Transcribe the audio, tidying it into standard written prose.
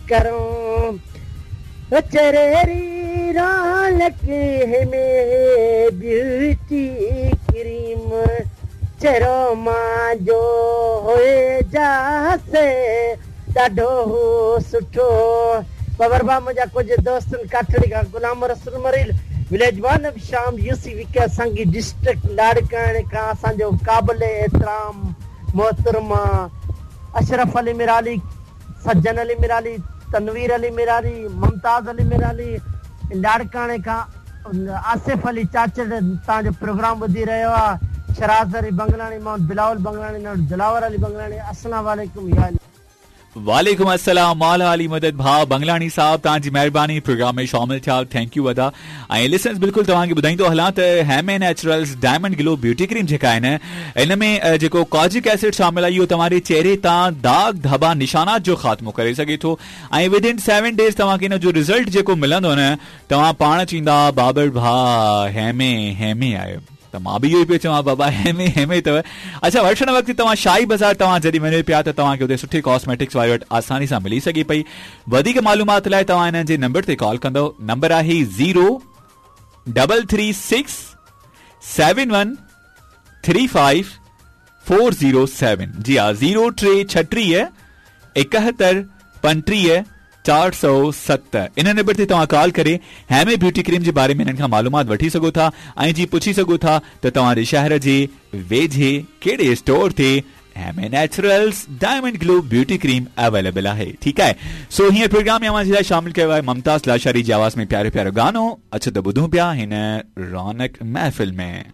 करूं चेहरे री रौनक हेमे ब्यूटी क्रीम चेहरो मांजो होए जासे ॾाढो सुठो। बाबर भाउ मुंहिंजा कुझु दोस्तनि काठड़ी खां गुलाम रसूल मरील विलेज वन शाम यूसी विके संगी डिस्ट्रिक्ट लाड़काणे खां असांजो क़ाबिल एहतराम मोहतरमा अशरफ अली मिराली, सज्जन अली मिराली, तनवीर अली मिराली, मुमताज़ अली मिराली, लाड़काणे खां आसिफ अली चाचड़ तव्हांजो प्रोग्राम ॿुधी रहियो आहे। शराज़ अली बंगलाणी, मोहम्मद बिलावल बंगलाणी, दिलावर अली बंगलाणी, अस्सलाम वालेकुम। या वालेकुम अस्सलाम। मौला अली मदद भाउ बंगलाणी साहब, तव्हांजी महिरबानी प्रोग्राम में शामिल थिया, thank you अदा। ऐं लिसनर्स बिल्कुलु तव्हांखे ॿुधाईंदो हलां त Heme naturals diamond glow beauty cream जेका आहिनि, इन में जेको कॉजिक एसिड शामिल आहे, इहो तव्हांजे चेहरे तां दाग धबा निशानात जो ख़ात्मो करे सघे थो ऐं विद इन 7 डेज़ तव्हांखे इन जो रिज़ल्ट जेको मिलंदो न, तव्हां पाण चवंदा बाबर भाउ हेमे हेमे आहियो। त मां बि इहो ई पियो चवां बाबा हेमे हेमे अथव। अच्छा, वठण वक़्तु तव्हां शाही बाज़ार तव्हां जॾहिं वञो पिया त तव्हांखे हुते सुठी कॉस्मेटिक्स वारे वटि आसानी सां मिली सघे पई। वधीक मालूमात लाइ तव्हां हिननि जे नंबर ते कॉल कंदव। नंबर आहे 0336 71 35 407। जी हा, 0 टे 36 71 35 407। इन नंबर ते तव्हां कॉल करे हेमे ब्यूटी क्रीम जे बारे में हिननि खां मालूमात वठी सघो था ऐं जी पुछी सघो था त तव्हांजे शहर जे वेझे कहिड़े स्टोर ते Heme naturals diamond glow beauty cream available आहे। ठीकु आहे, सो हींअर प्रोग्राम में अव्हां जे लाइ शामिल कयो आहे मुमताज़ लाशारी जी आवाज़ में प्यारो प्यारो गानो। अचो त ॿुधूं पिया हिन रौनक महफ़िल में।